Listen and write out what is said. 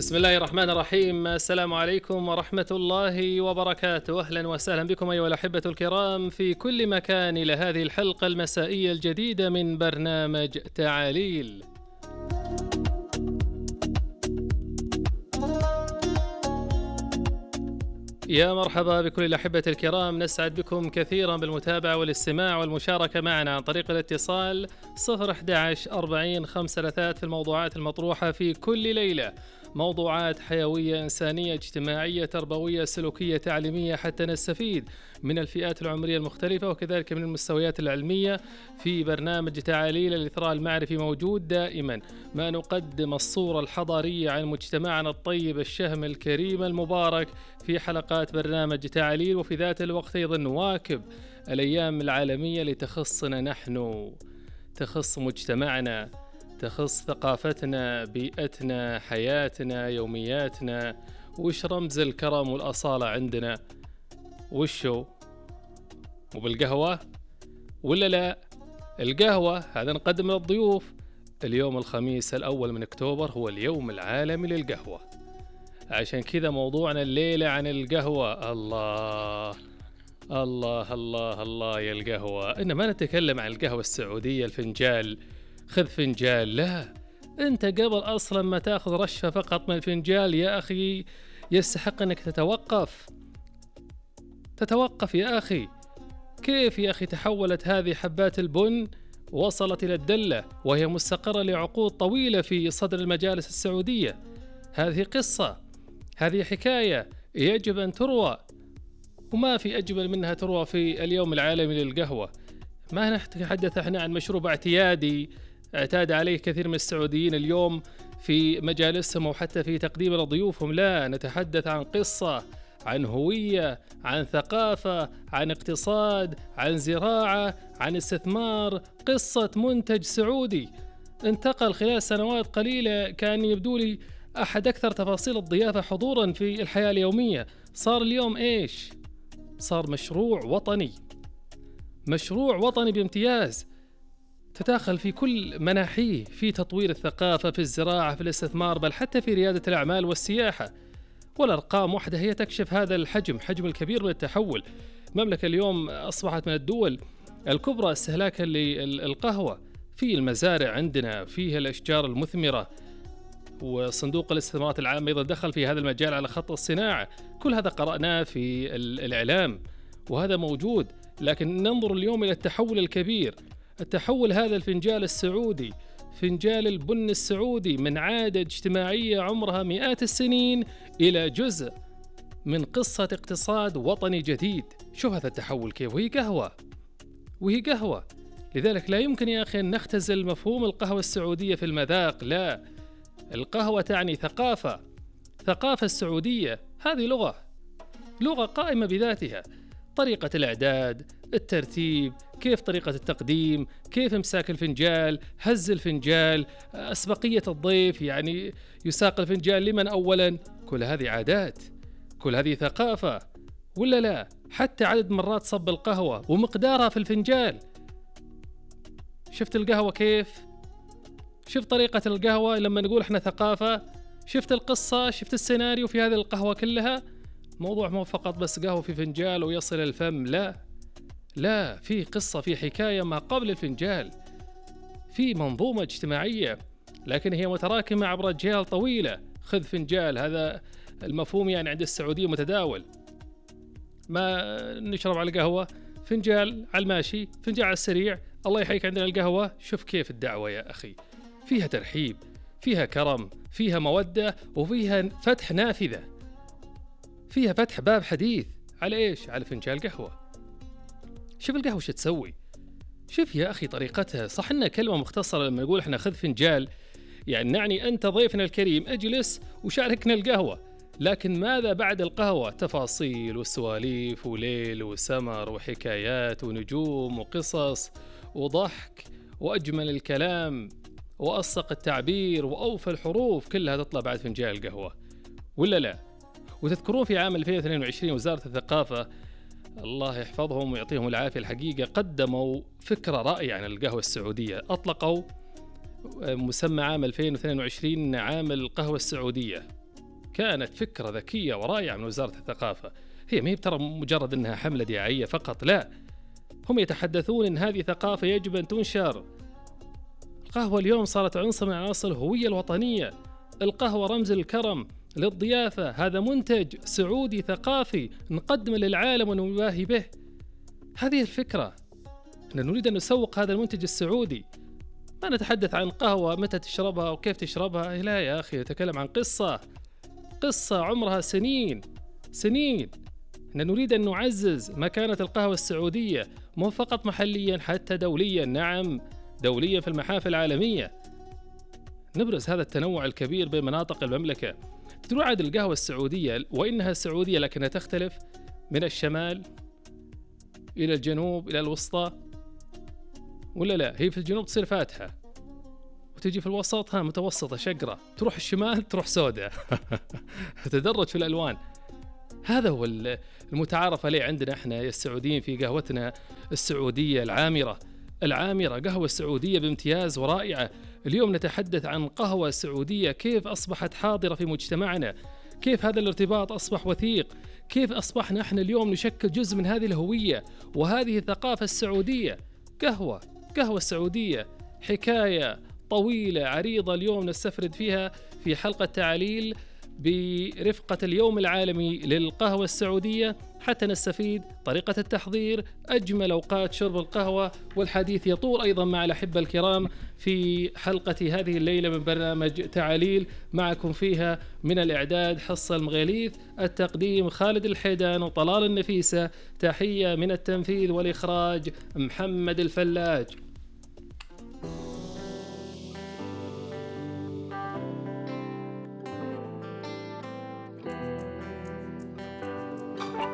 بسم الله الرحمن الرحيم. السلام عليكم ورحمة الله وبركاته. أهلا وسهلا بكم أيها الأحبة الكرام في كل مكان إلى هذه الحلقة المسائية الجديدة من برنامج تعاليل. يا مرحبا بكل الأحبة الكرام، نسعد بكم كثيرا بالمتابعة والاستماع والمشاركة معنا عن طريق الاتصال 011 40 5 في الموضوعات المطروحة في كل ليلة، موضوعات حيوية إنسانية اجتماعية تربوية سلوكية تعليمية حتى نستفيد من الفئات العمرية المختلفة وكذلك من المستويات العلمية. في برنامج تعاليل الإثراء المعرفي موجود دائما ما نقدم الصورة الحضارية عن مجتمعنا الطيب الشهم الكريم المبارك في حلقات برنامج تعاليل، وفي ذات الوقت أيضا نواكب الأيام العالمية اللي تخصنا نحن، تخص مجتمعنا، تخص ثقافتنا، بيئتنا، حياتنا، يومياتنا. وش رمز الكرم والأصالة عندنا؟ وشو؟ وبالقهوة ولا لا؟ القهوة هذا نقدم للضيوف. اليوم الخميس الأول من أكتوبر هو اليوم العالمي للقهوة، عشان كذا موضوعنا الليلة عن القهوة. الله الله الله الله يا القهوة. إن ما نتكلم عن القهوة السعودية الفنجال، خذ فنجال، لا، أنت قبل أصلا ما تأخذ رشفة فقط من الفنجال يا أخي يستحق أنك تتوقف يا أخي. كيف يا أخي تحولت هذه حبات البن وصلت إلى الدلة وهي مستقرة لعقود طويلة في صدر المجالس السعودية؟ هذه قصة، هذه حكاية يجب أن تروى، وما في أجمل منها تروى في اليوم العالمي للقهوة. ما نتحدث احنا عن مشروب اعتيادي اعتاد عليه كثير من السعوديين اليوم في مجالسهم وحتى في تقديم لضيوفهم، لا، نتحدث عن قصة، عن هوية، عن ثقافة، عن اقتصاد، عن زراعة، عن استثمار. قصة منتج سعودي انتقل خلال سنوات قليلة، كان يبدو لي أحد أكثر تفاصيل الضيافة حضورا في الحياة اليومية. صار اليوم إيش؟ صار مشروع وطني، مشروع وطني بامتياز، تداخل في كل مناحيه، في تطوير الثقافة، في الزراعة، في الاستثمار، بل حتى في ريادة الأعمال والسياحة. والأرقام وحدها هي تكشف هذا حجم الكبير من التحول. المملكة اليوم أصبحت من الدول الكبرى استهلاكا للقهوة. في المزارع عندنا فيها الأشجار المثمرة، وصندوق الاستثمارات العامة أيضا دخل في هذا المجال على خط الصناعة. كل هذا قرأناه في الإعلام وهذا موجود. لكن ننظر اليوم إلى التحول الكبير، التحول هذا الفنجال السعودي، فنجال البن السعودي، من عادة اجتماعية عمرها مئات السنين إلى جزء من قصة اقتصاد وطني جديد. شوف هذا التحول كيف، وهي قهوة. لذلك لا يمكن يا أخي أن نختزل مفهوم القهوة السعودية في المذاق، لا، القهوة تعني ثقافة السعودية. هذه لغة قائمة بذاتها، طريقة الإعداد، الترتيب، كيف طريقة التقديم، كيف امساك الفنجال، هز الفنجال، أسبقية الضيف، يعني يساق الفنجال لمن أولا. كل هذه عادات، كل هذه ثقافة، ولا لا؟ حتى عدد مرات صب القهوة ومقدارها في الفنجال. شفت القهوة كيف؟ شفت طريقة القهوة لما نقول احنا ثقافة؟ شفت القصة؟ شفت السيناريو في هذه القهوة كلها؟ موضوع مو فقط بس قهوة في فنجال ويصل الفم، لا، في قصة، في حكاية ما قبل الفنجال، في منظومة اجتماعية، لكن هي متراكمة عبر أجيال طويلة. خذ فنجال، هذا المفهوم يعني عند السعودية متداول. ما نشرب على القهوة، فنجال على الماشي، فنجال على السريع، الله يحييك عندنا القهوة. شوف كيف الدعوة يا أخي، فيها ترحيب، فيها كرم، فيها مودة، وفيها فتح نافذة، فيها فتح باب حديث على إيش؟ على فنجال قهوة. شوف القهوة شو تسوي، شوف يا أخي طريقتها. صح إنها كلمة مختصرة لما نقول إحنا خذ فنجال، يعني نعني أنت ضيفنا الكريم اجلس وشاركنا القهوة، لكن ماذا بعد القهوة؟ تفاصيل وسواليف وليل وسمر وحكايات ونجوم وقصص وضحك وأجمل الكلام وأصدق التعبير وأوفى الحروف، كلها تطلع بعد فنجان القهوة، ولا لا؟ وتذكرون في عام 2022 وزارة الثقافة الله يحفظهم ويعطيهم العافية الحقيقة قدموا فكرة رائعة عن القهوة السعودية. أطلقوا مسمى عام 2022 عام القهوة السعودية، كانت فكرة ذكية ورائعة من وزارة الثقافة. هي ما هي ترى مجرد أنها حملة دعائية فقط، لا، هم يتحدثون أن هذه ثقافة يجب أن تنشر. القهوة اليوم صارت عنصر من عناصر الهوية الوطنية. القهوة رمز الكرم للضيافة، هذا منتج سعودي ثقافي نقدمه للعالم ونباهي به. هذه الفكرة، أن نريد أن نسوق هذا المنتج السعودي، ما نتحدث عن قهوة متى تشربها وكيف تشربها. لا يا أخي، نتكلم عن قصة عمرها سنين. إن نريد أن نعزز مكانة القهوة السعودية، مو فقط محليا، حتى دوليا. نعم، دوليا في المحافل العالمية، نبرز هذا التنوع الكبير بين مناطق المملكة. تدرون عاد القهوة السعودية وإنها سعودية لكنها تختلف من الشمال إلى الجنوب إلى الوسطى، ولا لا؟ هي في الجنوب تصير فاتحة، وتجي في الوسط متوسطة شقرة، تروح الشمال تروح سوداء. تدرج في الألوان. هذا هو المتعارف عليه عندنا احنا السعوديين في قهوتنا السعودية العامرة، قهوة سعودية بامتياز ورائعة. اليوم نتحدث عن قهوة سعودية كيف أصبحت حاضرة في مجتمعنا، كيف هذا الارتباط أصبح وثيق، كيف أصبحنا احنا اليوم نشكل جزء من هذه الهوية وهذه الثقافة السعودية. قهوة السعودية حكاية طويلة عريضة اليوم نستفرد فيها في حلقة تعاليل برفقة اليوم العالمي للقهوة السعودية، حتى نستفيد طريقة التحضير، أجمل أوقات شرب القهوة. والحديث يطول أيضا مع الأحبة الكرام في حلقة هذه الليلة من برنامج تعاليل، معكم فيها من الإعداد حصة المغيليث، التقديم خالد الحيدان وطلال النفيسة، تحية من التنفيذ والإخراج محمد الفلاج.